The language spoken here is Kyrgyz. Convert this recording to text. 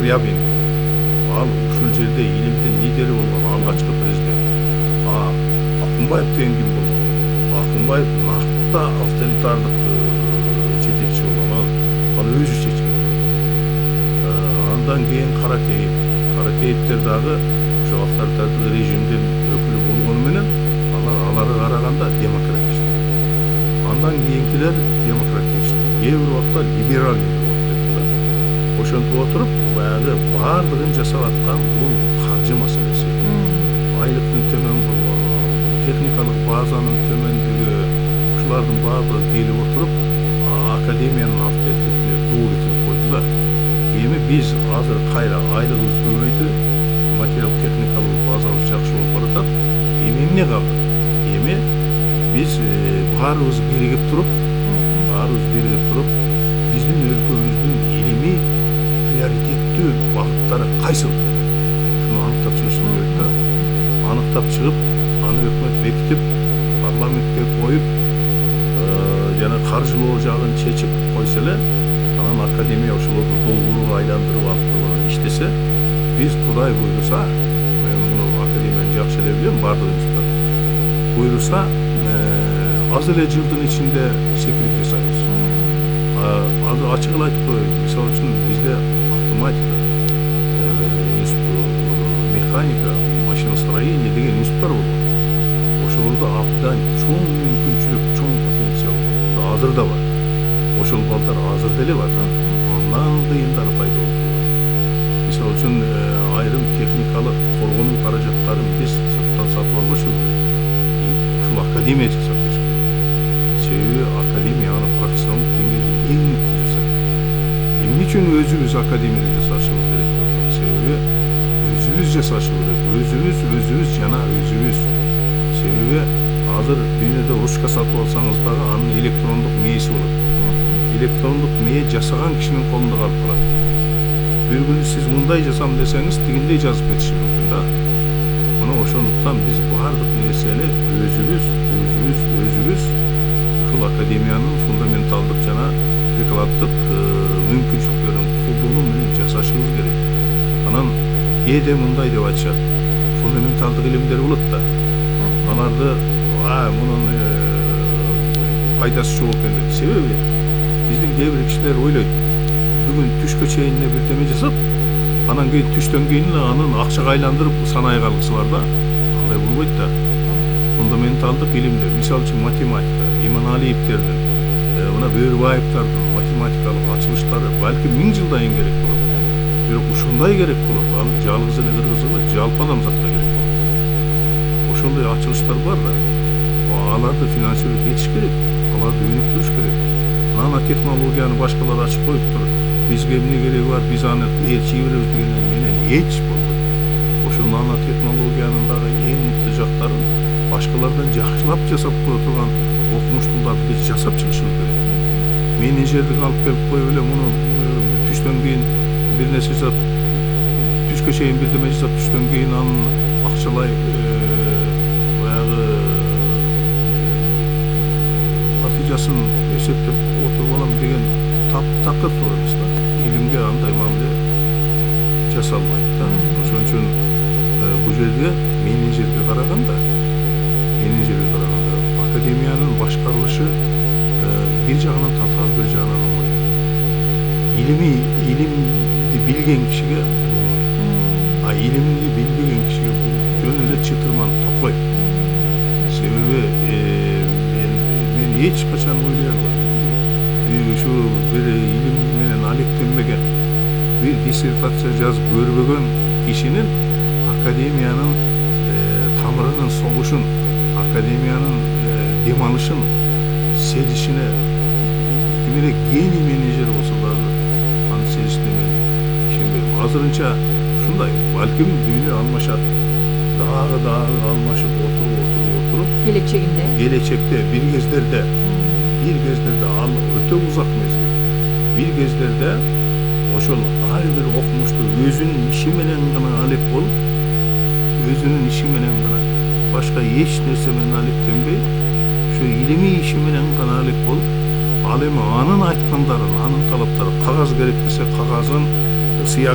Скрябин, ал ушул жерде илимдин лидери болгон алгачкы президент. Акунбаев деген ким болгон? Акунбаев накта авторитардык жетекчи болгон, ал өзү чечкен. Андан кийин Каракеевдер дагы ошо авторитардык режимдин өкүлү болгону менен аларга караганда демократичный. Андан кийинкилер демократичный, кээ бир убакта либеральный болуп кетти да. Ошентип отуруп, баягы баардыгын жасап аткан бул каржы маселеси. Айлыктын төмөн болгону, техникалык базанын төмөндүгү, ушулардын баардыгы келип отуруп, академиянын авторитетине доо кетирип койду да. Эми биз азыр кайра айлыгыбыз көбөйдү, материал техникалык базабыз жакшы болуп баратат. Эми эмне калды? Эми биз баарыбыз биригип туруп, биздин өлкөбүздүн илимий приоритеттүү багыттары кайсыл? Шуну аныктап чыгышыбыз керек да. Аныктап чыгып, аны өкмөт бекитип, парламентке коюп, жана каржылоо жагын чечип койсо эле, анан академия ошолорду долбоорго айландырып алып иштесе, биз Кудай буйруса, мен муну академияны жакшы эле билем, баардык институттар буйруса, аз эле жылдын ичинде секирип жасайбыз. Азыр ачык эле айтып коеюн, мисалы үчүн бизде автоматика, механика, машиностроение деген институттар болгон. Ошолордо абдан чоң мүмкүнчүлүк, чоң потенциал болгон. Азыр да бар. Ошол балдар азыр деле бар да. Андан кыйындары пайда болуп турат. Мисалы үчүн айрым техникалык коргонуу каражаттарын биз сырттан сатып албашыбыз керек. Ушул академия жасап бериш керек. Себеби академия аны профессионалдык деңгээлде эң мыкты жасайт. Эмне үчүн өзүбүз академияда жасашыбыз керек деп атам? Себеби өзүбүз жасашы керек. Өзүбүз жана өзүбүз. Себеби азыр дүйнөдө ручка сатып алсаңыз дагы анын электрондук мээси болот. Электрондук мээ жасаган кишинин колунда калып калат. Бир күнү сиз мындай жасам десеңиз, тигиндей жазып кетиши мүмкүн да. Мына ошондуктан биз баардык нерсени өзүбүз ушул академиянын фундаменталдык жана прикладдык мүмкүнчүлүктөрүн колдонуу менен жасашыбыз керек. Анан кээде мындай деп айтышат, фундаменталдык илимдер болот да. Аларды мунун пайдасы жок экен деп. Себеби биздин кээ бир кишилер ойлойт, бүгүн түшкө чейин бирдеме жасап, анан кийин түштөн кийин эле анын акчага айландырып санай калгысы бар да. Андай болбойт да. Фундаменталдык илимдер, мисалы үчүн математика, Иманалиевдердин, мына Бөрүбаевдардын математикалык ачылыштары балким 1000 жылдан кийин керек болот. Бирок ушундай керек болот, ал жалгыз эле кыргыз эмес, жалпы адамзатка керек болот. Ошондой ачылыштар бар да. Аларды финансировать этиш керек, аларды өнүктүрүш керек. Нанотехнологияны башкалар ачып коюптур. Бизге эмне кереги бар, биз аны чийе беребиз дегенден менен эч болбойт. Ошо нанотехнологиянын дагы эң мыкты жактарын башкалардан жакшылап жасап кое турган окумуштууларды биз жасап чыгышыбыз керек. Менеджердик алып келип коюп эле муну түштөн кийин бир нерсе жасап, түшкө чейин бирдеме жасап, түштөн кийин анын акчалай баягы натыйжасын эсептеп отуруп алам деген такыр туура эмес да. Илимге андай мамиле жасалбайт да. Ошон үчүн бул жерде менеджерге караганда академиянын башкарылышы бир жагынан татаал, бир жагынан оңой. Илимди билген кишиге оңой. Илимди билбеген кишиге бул жөн эле чытырман токой. Себеби мен эч качан ойлой албайм. Ушу бир илим менен алектенбеген, бир диссертация жазып көрбөгөн кишинин академиянын тамырынын согушун, академиянын дем алышын сезишине кимире гений менеджер болсо дагы анын сезишине мен ишенбейм. Азырынча ушундай, балким дүйнө алмашат, дагы алмашып отуруп келечекте бир кездерде ал өтө узак мезгил. Бир кездерде ошол ар бир окумуштуу өзүнүн иши менен гана алек болуп, өзүнүн иши менен гана, башка эч нерсе менен алектенбей, ошо илимий иши менен гана алек болуп, ал эми анын айткандарын, анын талаптарын, кагаз керек десе кагазын, сыя